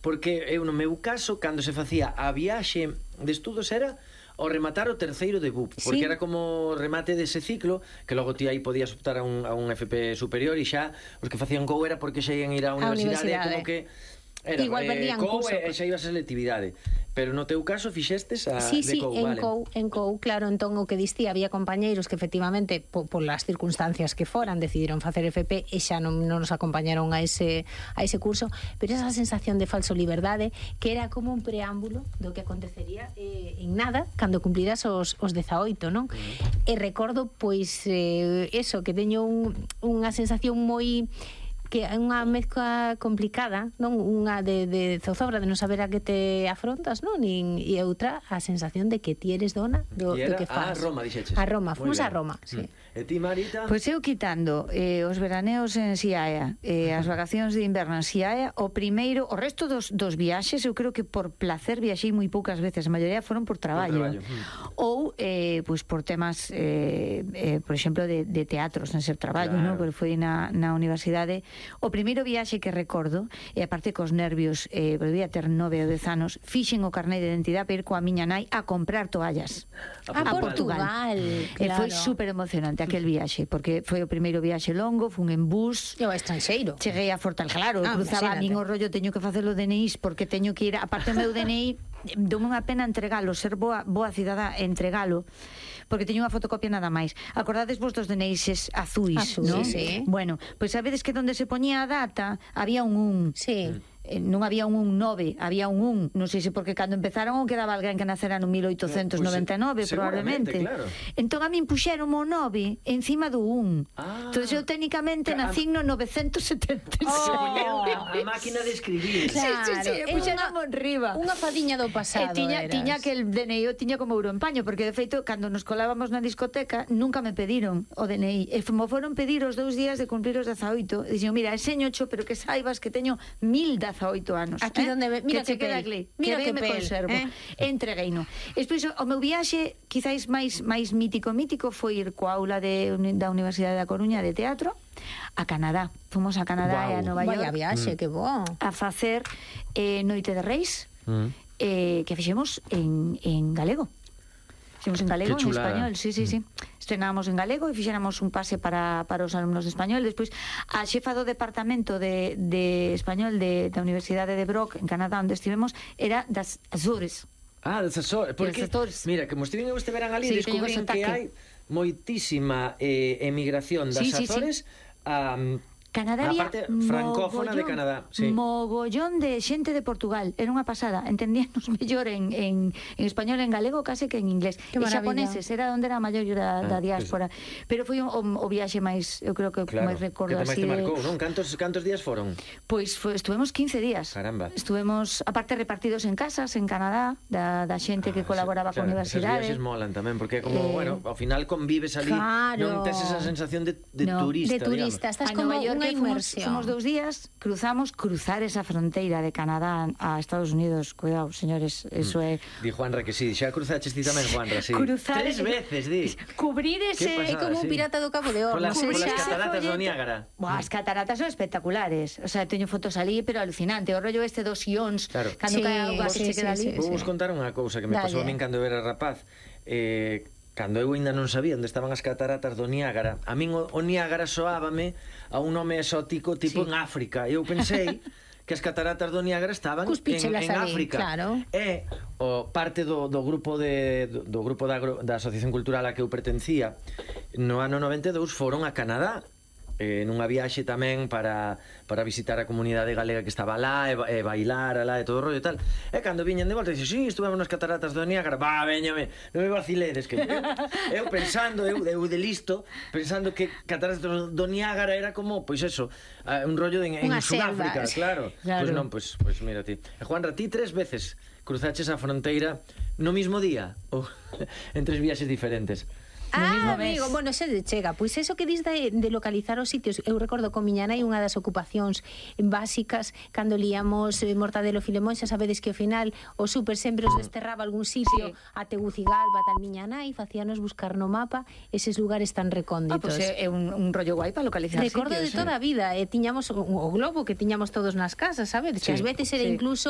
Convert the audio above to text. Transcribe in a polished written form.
porque eu no meu caso, cando se facía a viaxe de estudos era ao rematar o terceiro de BUP, porque era como remate dese ciclo, que logo ti aí podías optar a un FP superior, e xa os que facían COU era porque xa ian ir á universidade, como que era, igual perdían curso, e xa ibas a selectividade. Pero no teu caso fixestes a sí, de COU, vale? En COU, claro, entón o que distí, había compañeiros que efectivamente polas circunstancias que foran decidiron facer FP e xa non nos acompañaron a ese curso, pero esa sensación de falso liberdade que era como un preámbulo do que acontecería en nada cando cumpliras os 18, non? E recordo, pois, eso, que teño unha sensación moi que é unha mezcla complicada, non? Unha de zozobra, de non saber a que te afrontas, non? E outra, a sensación de que ti eres dona do que faz. A Roma, dixeches. A Roma, fomos a Roma, sí. E ti, Marita? Pois eu quitando os veraneos en Xiaia, as vacacións de inverno en Xiaia, o resto dos viaxes, eu creo que por placer viaxei moi poucas veces, a maioría foron por traballo. Ou, pois, por temas, por exemplo, de teatros, non ser traballo, non? Porque foi na universidade. O primeiro viaxe que recordo, e aparte cos nervios, volvía a ter 9 ou 10 anos, fixen o carné de identidade para ir coa miña nai a comprar toallas a Portugal. E foi super emocionante aquel viaxe, porque foi o primeiro viaxe longo, fun en bus. E ao estranxeiro. Cheguei a Fortalglar, cruzaba a min o rollo, teño que facer o DNI porque teño que ir, aparte o meu DNI, dou unha pena entregalo, ser boa cidadá, entregalo, porque teño unha fotocopia nada máis. Acordades vos dos DNIs azuis, non? Sí. Bueno, pois sabedes que donde se poñía a data había un Sí. Non había un 9, había un 1. Non sei se porque cando empezaron ou quedaba alguén que nacera no 1899, probablemente. Claro. Entón a min puxeron o 9 encima do 1. Entón eu técnicamente nacín no 976. A máquina de escribir. Claro. Sí, puxeron riba. Unha fadiña do pasado. Tiña que el DNI o tiña como euro en paño, porque de feito cando nos colábamos na discoteca nunca me pediron o DNI. E me foron pedir os 2 días de cumplir os 18. E dixen, mira, enséñocho, pero que saibas que teño 1018 anos. Aquí donde mira que queda pel. Mira que me conservo. Entregueino. Despois o meu viaxe quizais máis mítico foi ir coa aula da Universidade da Coruña de teatro a Canadá. Fomos a Canadá e a Nova York. Vaya viaxe, que bo. A facer Noite de Reis, que fixemos en galego. Fixemos en galego, en español, sí. Estrenábamos en galego e fixéramos un pase para os alumnos de español. Despois, a xefa do departamento de español da Universidade de Brock, en Canadá, onde estivemos, era das Azores. Das Azores. Porque, mira, que estiven este verán ali, descubrín que hai moitísima emigración das Azores a Canadá había parte francófona de Canadá, mogollón de xente de Portugal, era unha pasada, entendíanos mellor en español, en galego, case que en inglés. E xaponeses, era onde era a maior da diáspora. Pero foi o viaxe máis, eu creo que máis recordo así. Que máis te marcou, non? Cantos días foron? Pois estuvemos 15 días. Caramba. Estuvemos, aparte, repartidos en casas en Canadá, da xente que colaboraba con a universidade. Esos viaxes molan tamén, porque como, bueno, ao final convives ali, non tes esa sensación de turista, de turista, estás como unha inmersión. Fomos 2 días, cruzar esa fronteira de Canadá a Estados Unidos. Cuidado, señores, eso é... Di Juanra que sí, xa cruzaches ti tamén, Juanra, sí. 3 veces, di. Cubrir ese... É como un pirata do Cabo de Hornos. Polas cataratas do Niágara. As cataratas son espectaculares. O sea, teño fotos ali, pero alucinante. O rollo este dos ións, cando cae a auga que se queda ali. Vou vos contar unha cousa que me pasou a min cando eu era rapaz. Cando eu ainda non sabía onde estaban as cataratas do Niágara, a min o Niágara soábame a un nome exótico tipo en África. Eu pensei que as cataratas do Niágara estaban en África. Claro. E parte do grupo da Asociación Cultural a que eu pertencía no ano 92 foron a Canadá, nunha viaxe tamén para visitar a comunidade galega que estaba lá e bailar alá e todo o rollo e tal. E cando viñen de volta, dixen, sí, estuvemos nas cataratas do Niágara. Veñame, non me vaciledes, que eu pensando, eu de listo, pensando que cataratas do Niágara era como, pois eso, un rollo en Sudáfrica, claro. Pois non, pois mira ti. E Juanra, ti 3 veces cruzaches a fronteira no mismo día ou en 3 viaxes diferentes? mismo mes. Amigo, bueno, se chega. Pois eso que dis de localizar os sitios, eu recordo con miña nai unha das ocupacións básicas cando líamos Mortadelo Filemón, xa sabedes que ao final o súper sempre os desterraba algún sitio, a Tegucigalpa, tal. Miña nai facíanos buscar no mapa eses lugares tan recónditos. Pois é un rollo guai para localizar Recordo sitios. de toda a vida, tiñamos o globo que tiñamos todos nas casas, sabedes? Que ás veces era incluso